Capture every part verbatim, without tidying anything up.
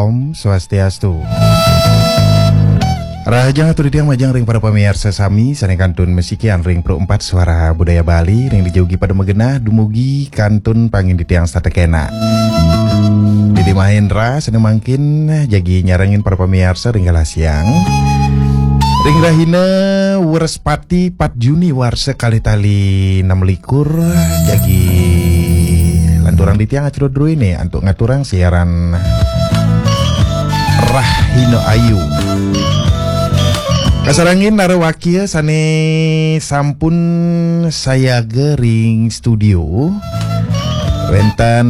Om Swastiastu. Rahajeng atur titiang majeng ring para pamiarsa sami sané kantun masikian ring Pro empat Suara Budaya Bali ring dijaugi pada magenah dumugi kantun pangin titiang satekena. Didi Mahendra sané mangkin jagi nyarengin para pamiarsa ring galah siang. Ring rahina Wrespati empat Juni warsa kalih tali enam likur jagi lanturang titiang acara druéné antuk ngaturang siaran Rahina Ayu. Kasarengin nara wakia sané sampun sayaga ring studio. Wénten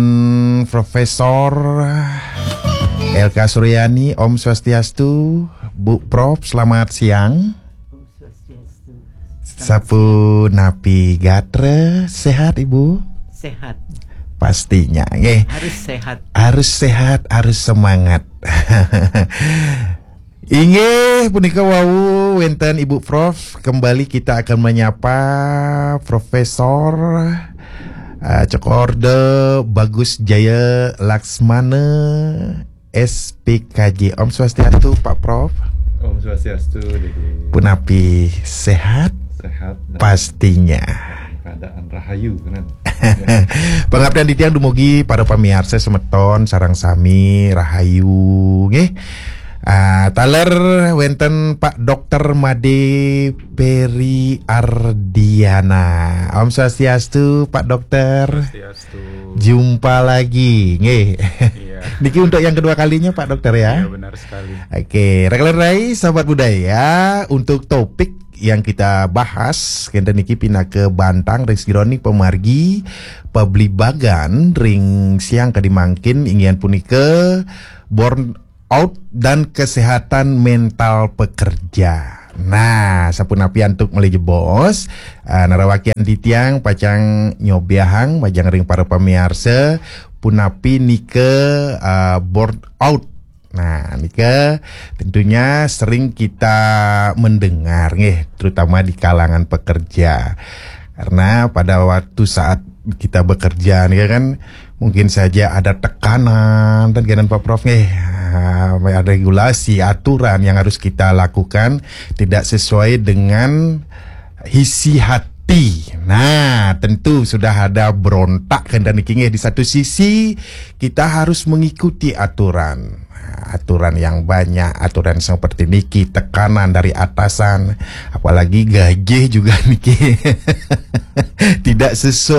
Profesor L K Suryani, Om Swastiastu, Bu Prof, selamat siang. Sapunapi gatra, sehat Ibu? Sehat. Pastinya, nggih. Harus sehat. Harus sehat, harus semangat. Inggih, punika wau wénten Ibu Prof. Kembali kita akan menyapa Profesor eh, Cokor Orde Bagus Jaya Laksmana, S P K J. Om Swastiastu, Pak Prof. Om Swastiastu, Dede. Punapi sehat? Sehat dan Pastinya. Keadaan rahayu, kan? Pangaptian titiang dumugi para pamiarsa semeton sareng sami rahayu, nggih. Ah, taler wénten Pak Dokter Made Peri Ardiana. Om Swastiastu, Pak Dokter. Swastiastu. Jumpa lagi, nggih. Iya. Niki untuk yang kedua kalinya, Pak Dokter, ya. Iya, benar sekali. Oke, rekan-rekan rai, sahabat budaya, untuk topik yang kita bahas kénten niki pinaka bantang ring sajeroning pamargi pablibagan ring siang kadi mangkin inggih punika burnout dan kesehatan mental pekerja. Nah, sapunapi antuk malih jebos, ah, nara wakian titiang pacang nyobiahang majeng ring para pamiarsa punapi nika, ah, burnout. Nah, nika tentunya sering kita mendengar, nggih, terutama di kalangan pekerja. Karena pada waktu saat kita bekerja, nih kan, mungkin saja ada tekanan, dan kan, Pak Prof, nggih, ah, ada regulasi, aturan yang harus kita lakukan tidak sesuai dengan isi hati. Nah, tentu sudah ada berontak kan dan niki, nggih. Di satu sisi kita harus mengikuti aturan. Nah, aturan yang banyak, aturan seperti niki, tekanan dari atasan, apalagi gaji juga niki tidak sesuai